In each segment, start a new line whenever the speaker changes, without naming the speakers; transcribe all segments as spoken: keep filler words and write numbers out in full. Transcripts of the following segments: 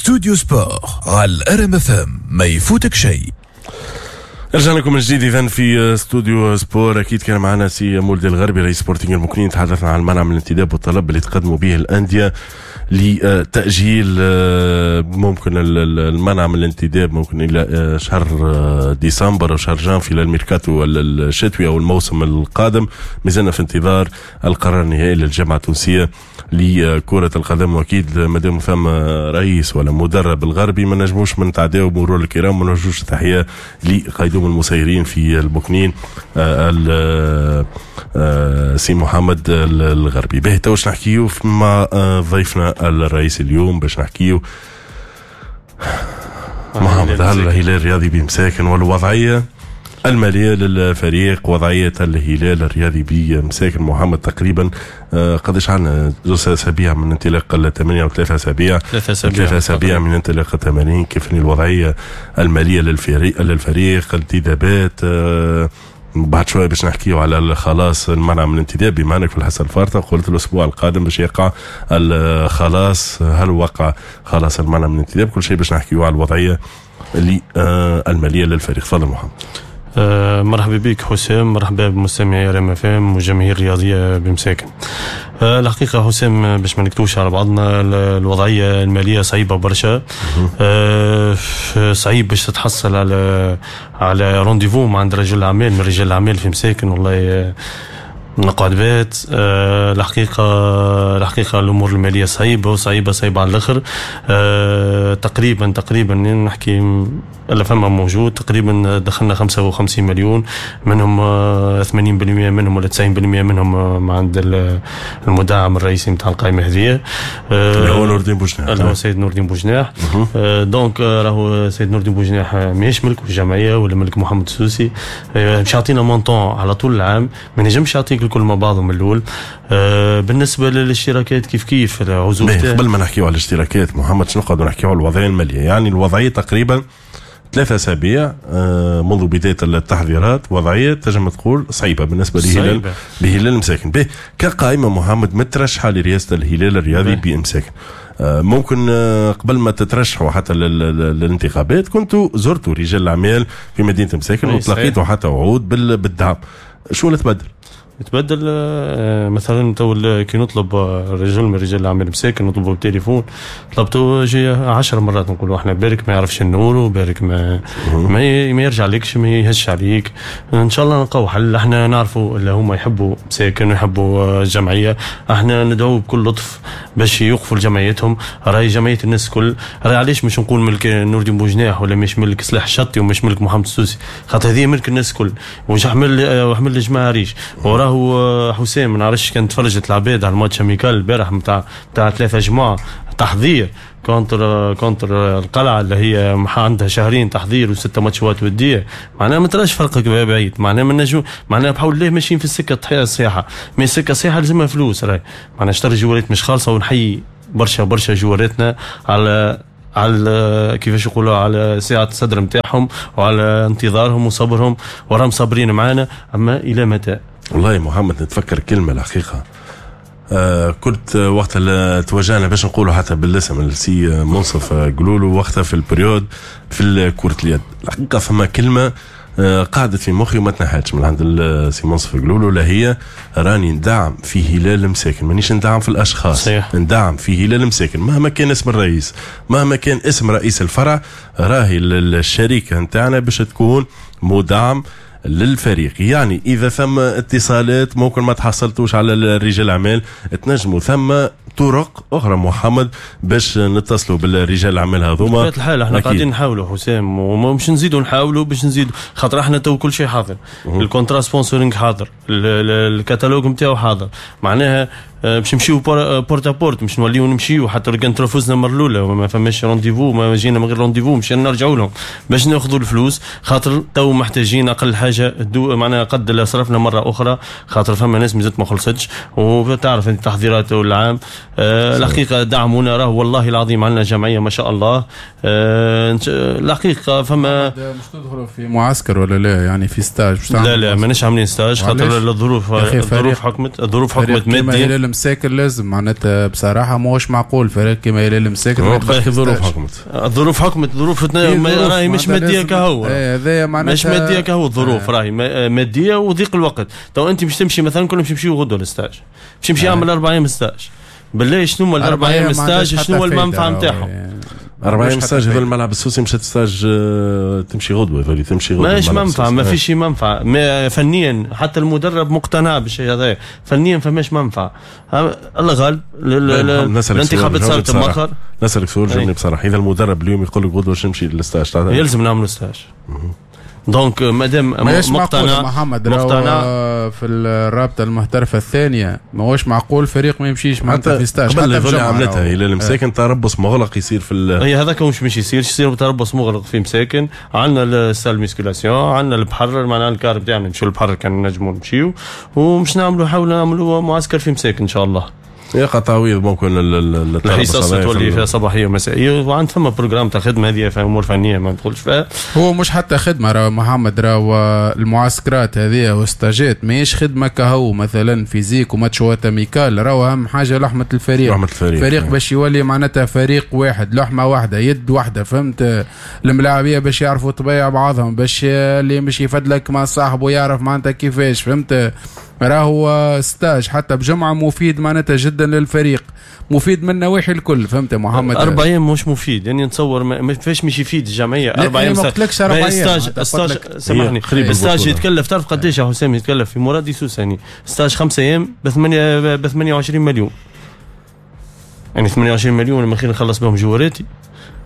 Studio Sport على ال RMFM، ما يفوتك شيء.
رجعنا لكم من جديد اذا في استوديو Sport. اكيد كان معنا سي مولدي الغربي رئيس سبورتينغ المكنين، تحدثنا عن المنع من الانتداب والطلب اللي تقدموا به الاندية لتاجيل آه، ممكن المنع من الانتداب ممكن الى آه، شهر آه، ديسمبر او شهر جانفي للميركاتو الشتوي او الموسم القادم. مازلنا في انتظار القرار النهائي للجامعة التونسية لكرة القدم، واكيد مادام ثم رئيس ولا مدرب الغربي ما نجموش من نتعداو بمرور الكرام ما نوجهوش تحية لقيدوم المسيرين في المكنين سي محمد الغربي. باهي، تو نحكيو مع ضيفنا الرئيسي اليوم باش نحكيو محمد على الهلال الرياضي بمساكن والوضعية المالية للفريق، وضعية الهلال الرياضي بمساكن. محمد، تقريبا آه، قداش عندنا؟ زوج اسابيع من انطلاق التمارين او ثلاثة اسابيع؟
ثلاثة اسابيع.
ثلاثة اسابيع من انطلاق التمارين. كيف الوضعية المالية للفريق للفريق انتدابات، آه، بعد شوية باش نحكيو على الخلاص المنع من الانتداب، بما انك في الحصة الفارطه قلت الاسبوع القادم باش يقع الخلاص، هل وقع خلاص المنع من الانتداب؟ كل شيء باش نحكيو على الوضعية اللي آه، المالية للفريق. تفضل محمد.
آه، مرحبا بك حسام، مرحبا بمستمعي RMFM وجماهير الرياضية بمساكن. آه، الحقيقة حسام، باش ما نكتوش على بعضنا، الوضعية المالية صعيبة برشا. آه، صعيب باش تتحصل على على rendez-vous مع عند رجل الاعمال من رجال الاعمال في مساكن. والله نقعد بات. أه الحقيقة الحقيقة الأمور المالية صعيبة وصعيبة صعيبة على الآخر. أه تقريبا تقريبا نحكي اللي فما موجود، تقريبا دخلنا خمسة وخمسين مليون، منهم ثمانين بالمية منهم ولا تسعين بالمية منهم ما عند المدعم الرئيسي نتاع القائمة هذه.
اللي هو نور الدين بوجناح.
اللي هو سيد نور الدين بوجناح. donc راهو سيد نور الدين بوجناح ماهيش ملك الجمعية ولا ملك محمد السوسي. باش يعطينا montant على طول العام، ما نجمش يعطيك الكل مع بعضهم من الاول. بالنسبة للاشتراكات كيف كيف
العزوف. قبل ما نحكيو على الاشتراكات محمد، شنو نقعدوا نحكيو على الوضعية الماليه؟ يعني الوضعية تقريبا ثلاثة أسابيع آه، منذ بداية التحضيرات، وضعية تنجم تقول صعيبة بالنسبة لهلال بهلال المساكن. به كقائمة محمد مترشحة لرئاسة الهلال الرياضي بإمساكن، آه، ممكن آه، قبل ما تترشحوا حتى للانتخابات كنتوا زرتوا رجال الأعمال في مدينة مساكن وتلقيتوا حتى وعود بالدعم. شو اللي تبدل؟
تبدل آه، مثلا تو كي نطلب رجل من رجال الاعمال مساكن، نطلبه بالتليفون، طلبته جي عشر مرات، نقولوا احنا بالك ما يعرفش النور وبالك ما ما, ما يرجع لكش، ما يهش عليك. ان شاء الله نلقاو حل. احنا نعرفوا اللي هما يحبوا مساكن ويحبوا الجمعيه. احنا ندعو بكل لطف باش يوقفوا لجمعيتهم، راهي جمعية الناس الكل. راهي علاش مش نقول ملك نور الدين بوجناح ولا مش ملك سلاح الشطي ومش ملك محمد السوسي؟ خاطر هذه ملك الناس الكل. وحمل وحمل الجماعة ريش وراه حسام. ما نعرفش كان تفرجت العباد على ال match amical البارح نتاع نتاع ثلاثة جمعه تحضير contre contre القلعة اللي هي عندها شهرين تحضير وستة ماتشات وديه. معناها ما تراش فرق بعيد، معناها ما نجم، معناها بحول الله ماشيين في السكة الصحيحه، mais السكة الصحيحة لازمها فلوس. راهي معناها شطر جوارات مش خالصه، ونحيي برشا برشا جواراتنا على على كيفاش يقولوا على سعة الصدر نتاعهم وعلى انتظارهم وصبرهم، وراهم صابرين معانا، اما الى متى؟
والله يا محمد نتفكر كلمة الحقيقه، آه كنت وقت اللي توجهنا باش نقولوا حتى بالاسم السي منصف قلولو وقتها في ال période في كرة اليد، الحقيقة فما كلمة آه قعدت في مخي وما تنحتش من عند السي منصف قلولو، لا هي راني ندعم في هلال مساكن، مانيش ندعم في الاشخاص.
صحيح.
ندعم في هلال مساكن مهما كان اسم الرئيس، مهما كان اسم رئيس الفرع، راهي الشركة نتاعنا باش تكون مدعم للفريق. يعني اذا ثم اتصالات ممكن ما تحصلتوش على رجال الاعمال، تنجموا ثم طرق اخرى محمد باش نتصلوا بالرجال الاعمال هذوما.
بطبيعة الحال احنا قاعدين نحاولوا حسام، ومش نزيدوا نحاولوا باش نزيدوا، خاطر احنا تو كل شيء حاضر، ال contrat sponsoring حاضر، الكتالوج نتاعو حاضر، معناها آه، باش نمشيو porte à porte، مش نوليو نمشيو حتى لو كان ترفزنا المرة الاولى وما فماش rendez-vous، ما جينا من غير rendez-vous، مش نرجعوا لهم باش ناخذوا الفلوس، خاطر تو محتاجين اقل حاجة دو معناها قد اللي صرفنا مرة اخرى، خاطر فما ناس مازالت ما خلصتش، وتعرف انت التحضيرات والعام. آه الحقيقة دعمونا، راه والله العظيم عندنا جمعية ما شاء الله. آه الحقيقة فما
مش تدخلوا في معسكر ولا لا؟ يعني في stage؟
مش لا لا، ماناش عاملين stage خاطر الظروف الظروف حكمت الظروف حكمت ماديا.
كيما هلال مساكن لازم معناتها بصراحة ماهوش معقول فريق كيما هلال مساكن
الظروف حكمت
الظروف حكمت ظروف راهي مش مادية كهو،
هذايا معناتها
مش مادية كهو، الظروف راهي مادية وضيق الوقت. تو انت باش تمشي مثلا كنا باش نمشيو غدوه لل stage، باش نمشي نعمل اربع ايام stage، بالله شنو هما الاربع ايام stage شنو هو المنفعة نتاعهم؟
أربع أيام stage هذول الملعب السوسي مشات stage تمشي غدوة هذول تمشي غدوة
ماهيش منفعة، ما فيش منفعة ما فنيا، حتى المدرب مقتنع بالشيء هذا فنيا فماش منفعة. الله غالب الانتخابات صارت مؤخر.
نسألك سؤال جاوبني بصراحة، إذا المدرب اليوم يقول لك غدوة باش نمشي لل stage
يلزم نعملوا stage. donc مادام مقتنع
محمد مقتنع في الرابطة المحترفه الثانية ماهوش معقول فريق ما يمشيش معناتها في stage.
قبل اللي عملتها هلال مساكن تربص مغلق يصير في
هي هذاك مش مش يصير يصير تربص مغلق في مساكن. عندنا ال salle musculation، عندنا البحر، معناها ال car بتاعنا نمشيو للبحر كان نجموا نمشيو، ومش نعملوا حاولنا نعملوا معسكر في مساكن ان شاء الله.
يقع تعويض ممكن
الحصص تولي فيها صباحية ومسائيه، وعند فما programme تاع خدمة هذه في امور فنية ما ندخلش فيها.
هو مش حتى خدمة راه محمد، راه المعسكرات هذه والستاجات ماهيش خدمة كهو مثلا physique وماتشات amicales، راهو اهم حاجة لحمه الفريق،
لحمه الفريق
فريق باش يولي معناتها فريق واحد، لحمه واحدة، يد واحدة، فهمت؟ الملاعبيه باش يعرفوا طبيعة بعضهم، باش اللي مش يفدلك مع صاحبه يعرف معناتها كيفاش، فهمت؟ راهو stage حتى بجمعه مفيد معناتها جدا للفريق، مفيد من نواحي الكل، فهمت يا محمد؟
أربع أيام مش مفيد، يعني نتصور ما فيش مش يفيد الجمعية. أربع أيام
ما قلتلكش أربع أيام
stage stage سامحني stage يتكلف، تعرف قداش يا حسام يتكلف في مرادي سوساني stage خمسة أيام ب ثمانية ب ثمانية وعشرين مليون، يعني ثمانية وعشرين مليون من خير نخلص بهم جواراتي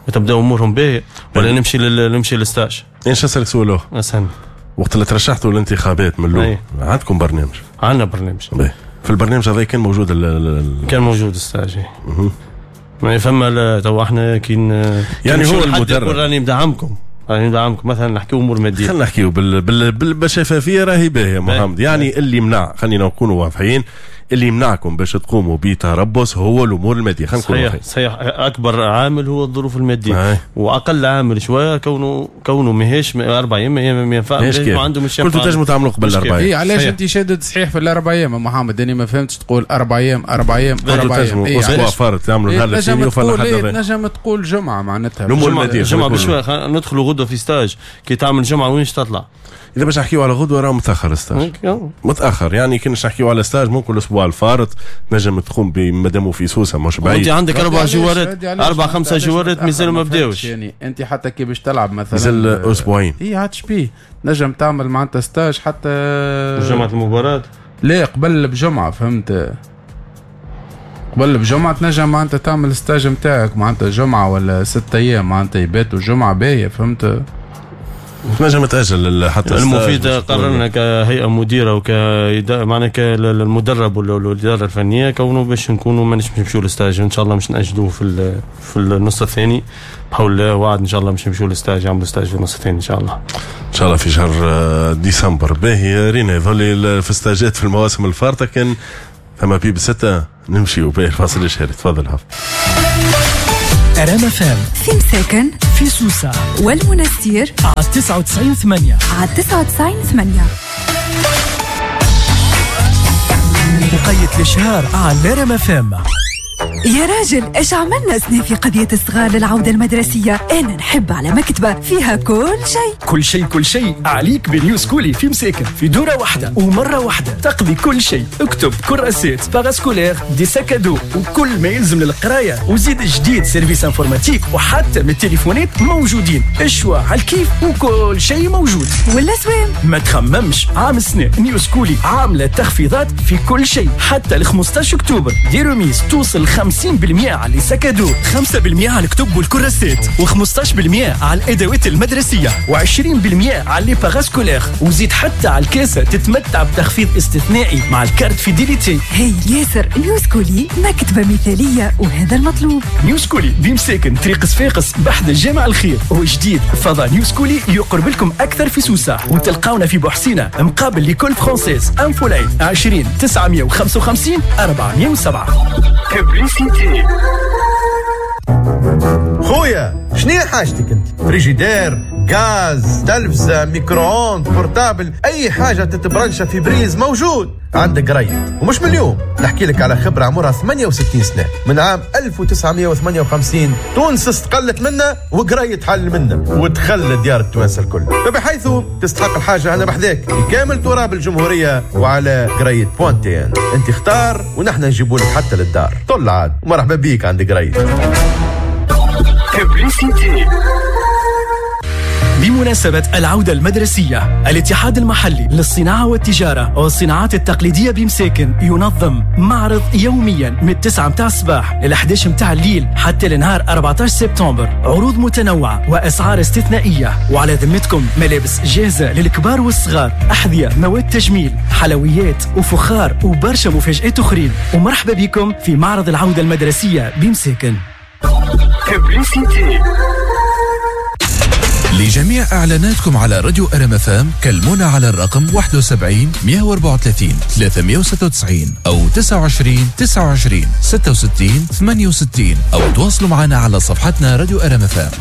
وتبدا أمورهم باهية، ولا نمشي لل... نمشي لل stage.
إيش نسألك سؤال
أسهل.
وقت اللي ترشحتوا الانتخابات من الاول عندكم برنامج؟
عندنا برنامج.
باهي. في البرنامج هذا كان موجود ال ال
كان موجود ال stage. ما فما تو احنا كي
يعني هو المدرب
راني مدعمكم، راني ندعمكم مثلا نحكيو امور مادية.
خلينا نحكيو بال بال بالشفافيه راهي باهيه محمد، يعني اللي يمنع، خلينا نكونوا واضحين، اللي يمنعكم باش تقوموا بتربص هو الامور المادية. خلينا نكونوا
واضحين. صحيح، اكبر عامل هو الظروف المادية. آه. واقل عامل شوية كونه كونه ماهيش اربع ايام ما ينفعش، ما عنده مش
كنتوا تنجموا تعملوا قبل اربع ايام.
اي علاش انت شادد صحيح في الاربع ايام يا محمد؟ انا ما فهمتش تقول اربع ايام اربع ايام اربع ايام.
إيه اسبوع فارط تعملوا نهار الاثنين
وفر حد. تنجم تقول جمعه معناتها.
الامور المادية
جمعه بشوية ندخلوا غدوه في stage، كي تعمل جمعه وين تطلع؟
اذا باش نحكيو على غدوه راه متاخر stage، متاخر، يعني كي نحكيو على stage ممكن الاسبوع الفارط نجم تقوم بمادامو في سوسة مش بعيد.
انت عندك اربع جوارات، اربع خمسة جوارات مازالوا ما بداوش،
يعني انت حتى كي باش تلعب مثلا
مازال اسبوعين.
اي عادش بيه نجم تعمل معناتها stage حتى
جمعه المباراة،
لا قبل بجمعه، فهمت؟ قبل بجمعه تنجم معناتها تعمل stage نتاعك معناتها جمعه ولا ست ايام معناتها يباتوا جمعه باهيه، فهمت؟
تنجم تأجل حتى
المفيد. قررنا كهيئة مديرة وك معناها كالمدرب والإدارة الفنية كونه باش نكونوا مانيش باش نمشيو لل stage إن شاء الله، مش نأجلوه في في النص الثاني بحول الله، وعد إن شاء الله مش نمشيو لل stage، يعملوا stage في النص الثاني إن شاء الله.
إن شاء الله في شهر ديسمبر. باهي رينا يظل في ستاجات في المواسم الفارطة كان ثم بيب ستة نمشيو باهي الفاصل الشهري. تفضل حف.
أرام فام
في مساكن
في سوسة
والمنستير
على تسعة وتسعين ثمانية،
على تسعة وتسعين ثمانية.
وقيت الإشهار على أرام فام.
يا راجل ايش عملنا سنة في قضية الصغار للعودة المدرسية؟ انا نحب على مكتبة فيها كل شيء
كل شيء كل شيء. عليك بنيوز كولي في مساكن في دورة واحدة ومرة واحدة تقضي كل شيء. اكتب كراسات parascolaires des sacs à dos وكل ما يلزم للقراية، وزيد جديد service informatique وحتى من التليفونات موجودين. ال choix على الكيف وكل شيء موجود.
والاسوام
ما تخممش، عام السنة نيوز كولي عاملة تخفيضات في كل شيء حتى ل خمسطاش أكتوبر. des remises توصل خمسين بالمئة على les sacs à dos، خمسة بالمئة على الكتب والكراسات، وخمسطاش بالمئة على الأدوات المدرسية، وعشرين بالمئة على les parascolaires، وزيد حتى على الكاسة تتمتع بتخفيض استثنائي مع ال carte fidélité.
هي ياسر نيوز كولي مكتبة مثالية وهذا المطلوب.
نيوز كولي بمساكن طريق صفاقس بحد الجامع الخير، وجديد فضاء نيوز كولي يقرب لكم أكثر في سوسة، وتلقاونا في بوحسينة مقابل l'école française. infoline عشرين تسعمية وخمسة وخمسين أربعمية وسبعة.
خويا شنو حاجتك انت؟ فريجيدير، غاز، تلفزة، micro-ondes، portable، اي حاجة تتبرنشة في prise موجود عند قريد. ومش من اليوم نحكي لك على خبرة عمرها ثمانية وستين سنة، من عام ألف وتسعمية وثمانية وخمسين تونس استقلت منا وقريد حل منا ودخل ديار التوانسة الكل، فبحيث تستحق الحاجة أنا بحذاك في كامل تراب الجمهورية وعلى قريد point tn. انت اختار ونحن نجيبوا لك حتى للدار. طل عاد، مرحبا بيك عند قريد.
بمناسبة العودة المدرسية، الاتحاد المحلي للصناعة والتجارة والصناعات التقليدية بمساكن ينظم معرض يوميا من تسعة متاع الصباح إلى أحد عشر متاع الليل حتى لنهار أربعة عشر سبتمبر. عروض متنوعة وأسعار استثنائية، وعلى ذمتكم ملابس جاهزة للكبار والصغار، أحذية، مواد تجميل، حلويات وفخار وبرشا مفاجآت أخرين. ومرحبا بكم في معرض العودة المدرسية بمساكن.
لجميع إعلاناتكم على راديو ار ام اف ام كلمونا على الرقم واحد وسبعين مية وأربعة وثلاثين ثلاثمية وستة وتسعين أو تسعة وعشرين تسعة وعشرين ستة وستين ثمانية وستين، أو تواصلوا معنا على صفحتنا راديو ار ام اف ام.